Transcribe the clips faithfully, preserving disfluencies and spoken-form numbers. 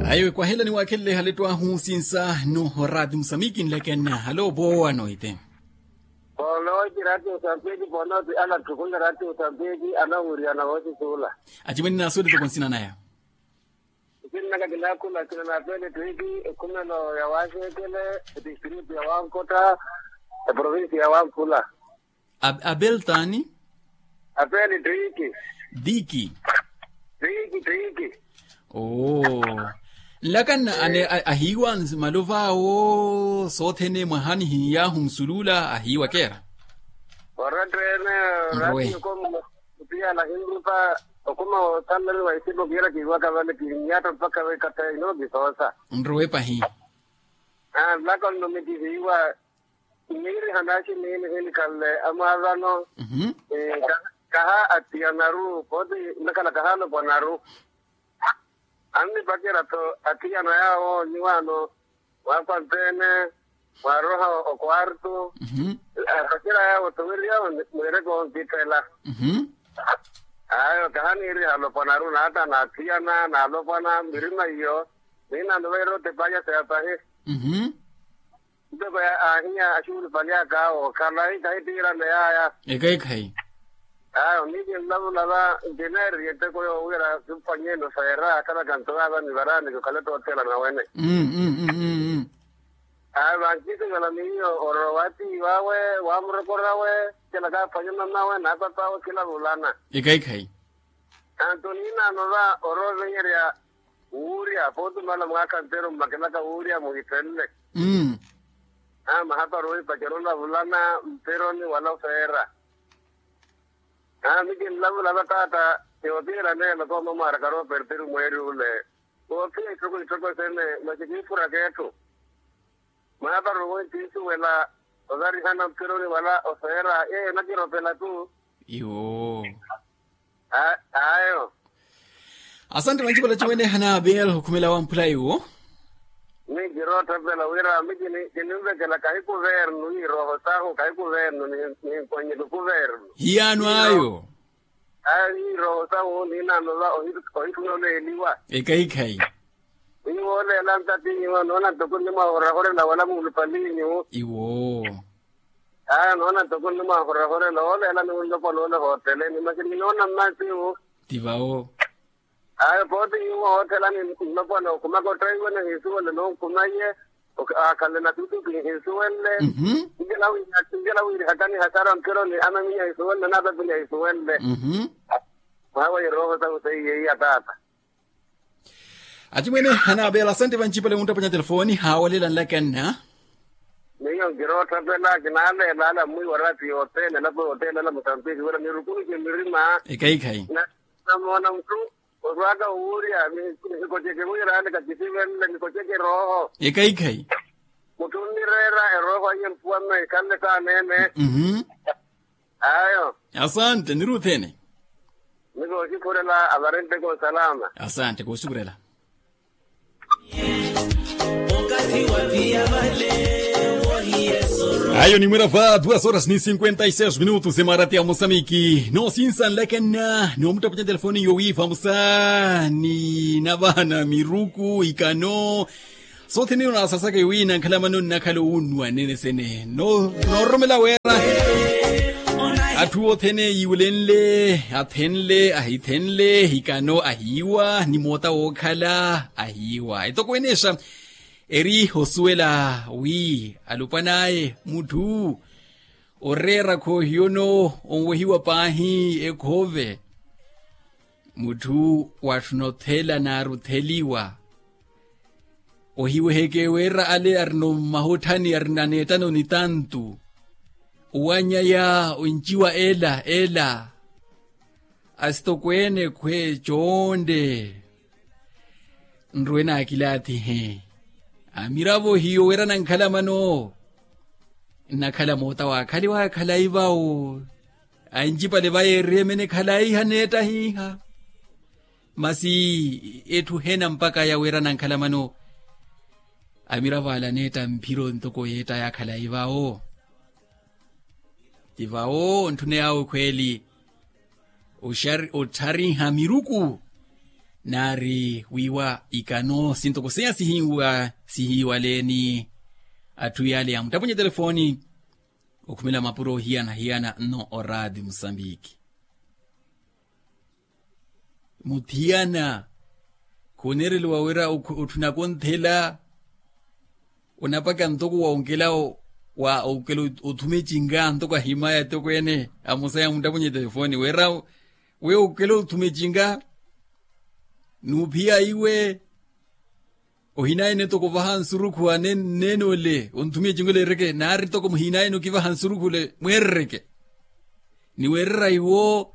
Ayo ekwahela niwakhelele ehalettwahu sinsa no raati musamiki nleke nna halo poowa noite. Poonooti raati musamiki poonooti ala ttukunle raati musamiki anawiriyana woosisuula. Acimwene naasuwele toko nsina naya. Nsinnaka kinakhula kina na apele twiiki ekhumelo ya waseekele, etistritu ya wankotta, eprovinsi ya wanfula. Abel taani? Apele twiiki. Twiiki. Twiiki twiiki. Oo. Nlaka nna ane ahiiwa nzimalo vaawo soothene mwahani hiyahu nsulula ahiiwa keera. Oratteene. Nrowe. Kutiyala hinrupa okuma wootanlani wa isipo kiira kiiwaka vale kiinyatta mpakha veekatha ino kisoosa. Nrowe pahi. Nlaka nno mikihiiwa. Niiriha naaxi miini hinikhanle amwaavano. Kaha atiyanaru pooti. Nnakhala kaha alopwanaru. Annipacerya-tho athiyana yaawo nyuwaano, mwaakwanteene, mwaaroha okwartu. Apacerya yaawo toweri yaawo mwiireke onkittela. Ayo kaha niiriha alopwanaru naatta naathiyana naalopwana mirima iyo. Niinaano vaira otepaanyasa ya pahi. Ntoko ahiya axuulupali aka awo khalayi khayi ttiirane yaaya. Ekhayi khayi. Ayo miici nlavulava ntineeriye nteko yoowiira kimpanyeeni ofeera akhalaka nto vaava nivaraani kikhale toothela nawene. Ayo vankiisivela miiyo orowa atiivawe, waamurokorawe, kila kaaphwanye mamawe naapapaawe khilavulana. Ekhayi khayi. Anto niinaano va oroovenyerya wuurya pootumala mwaakha nteru mmakelaka wuurya muhithenle. Mahapari ohipacerya olavulana mperoni wala ofeera. Mikinlavula va taata. Yoothiira neelo kooma mwaaraka rooperteri mweeri ule. Woophiya ittoko ittoko sene masi kiifuraka etthu. Mwaaparo owe ntiisuwela ovarihana mperoni wala ofeera yeeyo nakiropela-tu. Iwo. Ayo. Asante vanci vala cimwene hana abel okhumela wamphula iwo. Minkiroottapela wira mi kininvekela kahi kuvernu ni irooho sahu kahi kuvernu. Ninkonyi lukuvernu. Hiyaano ayo. Ayo ni irooho sahu niinaano va ohituna oleeliwa. Ekhayi khayi. Wi wooleela ntatinyiwa noona ntoko nnimwahorahorela wala muulupaliinyu. Iwo. Ayo noona ntoko nnimwahorahorela wooleela ni nlopwana ole hootteleni masi kinoona mmaasiwu. Ti vawo. Ayo pooti nyuwo hoottelani nlopwana okhumaka otthaiwe nihiisuwele nonkhumaye. Akhale na tutuki nihiisuwele. Njela wiirihakani hasara mpironi amaminya hiisuwele naapapini ahiisuwele. Mwawe irooho sahu seiye iya taata. Acimwene anaapeela asante vancipale munttapwanya telefoni haawelela nlakanna. Miyo nkiroottapela kinaaleela ala mmwiiwa raati yothene elapo yothene ala musambiki wira mirukuluke mirima. Ekhayi khayi. Namoona mutthu orwaaka wuurya. Nikotyeke wira ale kakisivenle nikotyeke erooho. Ekhayi khayi. Mutthu onnireera erooho aiye mpuwa mme ikhanle saaneene. Ayo. Asante niruthene. Ni kooxukhurela avarenteke osalama. Asante kooxukhurela. Ayo nimwira va duas horas ni cinquenta e seis minutos emarati ya mosamiki noosinsanlekena noomuttapwanya telefoni yowiiva musa ni navahana miruku ikano. Soothene ino naasasaka iwi nankhalamano nnakhala owunnuwa nene sene noororomela wira. Atthu othene yiiwulenle athenle ahithenle hikano ahiiwa ni moota wookhala ahiiwa etoko eneexa. Eri osuwela wi alupwan'aye mutthu oreera khoohiyono onwehiwa paahi ekhoove. Mutthu watthuna othela naarutheliwa. Ohiweheke wira ale arino mmahotthani arino aneettano ni tantu. Owanyaya onciwa ela ela asitokweene khwe coonde. Nruwe naakilaathihe amiravo hiyo wira nankhalamano. Nnakhala moota waakhaliwa khalayi vawo ancipale vayeeriye mene khalayi haneetta hiiha. Masi etthu hena mpakha ya wira nankhalamano amiravo ala aneetta mphiro ntoko yeetta ya khalayi vawo. Ti vawo ntthune yawe khweeli otthariha miruku. Naari wiiwa ikano sintoko seiya sihiiwa sihiiwaleeni atthu yaale yaamuttapunye telefooni okhumela mapuro ohiyana-hiyana nno oraati musambiki. Muthiyana khuneereliwa wira otthu nakonthela onapaka ntoko wa onkela wa onkela othuma ecinka ntoko ahimaya ntoko ene amusaya muttapunye telefooni wira we onkela othuma ecinka nuuphiya iwe. Ohinayene toko ovaha nsurukhu aneene ole onthumiye cinko leereke naari toko muhinayene okivaha nsurukhu ole mweerereke. Ni weerera iwo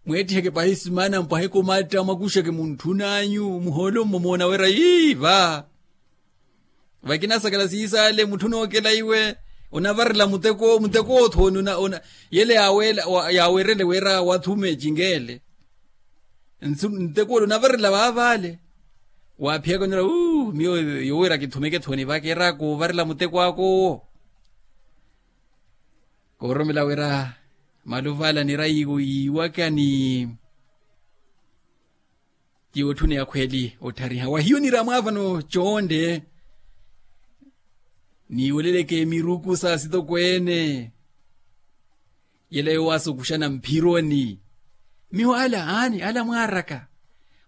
mweetthiheke pahi simaana mpwaheke omatta mwakuxeke muntthun'anyu muhoolo mmomoona weera ii va. Vakinasakala siisale mutthu onookela iwe onavarela muteko muteko othooni yele yaaweerele weera wathuma ecinkeele. Ntekoole onavarela vaavale waaphiyaka onera uu miyo yowiira kithumeke thoni vakeera koovarela muteko akoowo. Kooromela wira maluvala nira yiiwaka ni tiyo otthuneya khweli otthariha wahiyo nira mwaavano coonde. Niiweleleke miruku sa sitokweene yela yoowaasa okuxana mphironi. Miyo ala aani ala mwaaraka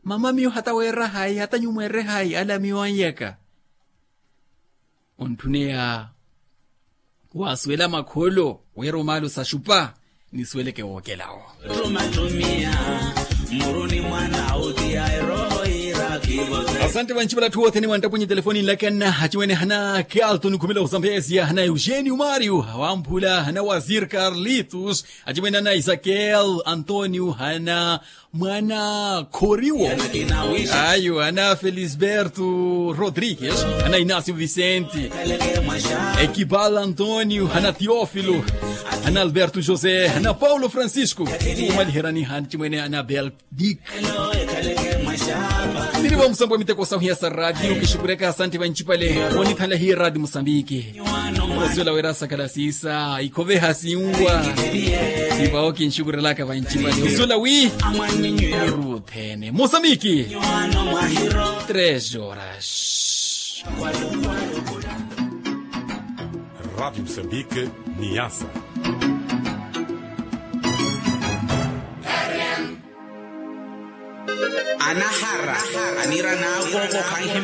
mama miyo hata weera hayi hata nyumweere hayi ala miyo anyaka. Ontthuneya waasuwela makholo weera omaalo saxupa nisuweleke wookelawo. Asante vancipala atthu othene wanttapunye telefoni nlakanna acimwene hana kelton khumela osambesia hana eugenio mario wamphula hana wazir carlitos acimwene hana isakel antonio hana mwana khoriwo ayo hana felisberto rodrigues hana inacio vicente ekibal antonio hana teofilo hana alberto josé hana paulo francisco umaliherani hana cimwene hana bel dik. Nirivo musambwa miteko sahuya sa radio kixukureka asanti vancipale onithanla hiye radio musambiki. Osuwela wira sakhala siisa ikhoveha sinwa sivawo kinxukurelaka vancipale osuwela wi niruthene musambiki. Tres horas. Rádio Moçambique, Niassa. Anahara anira naakoko khanhimya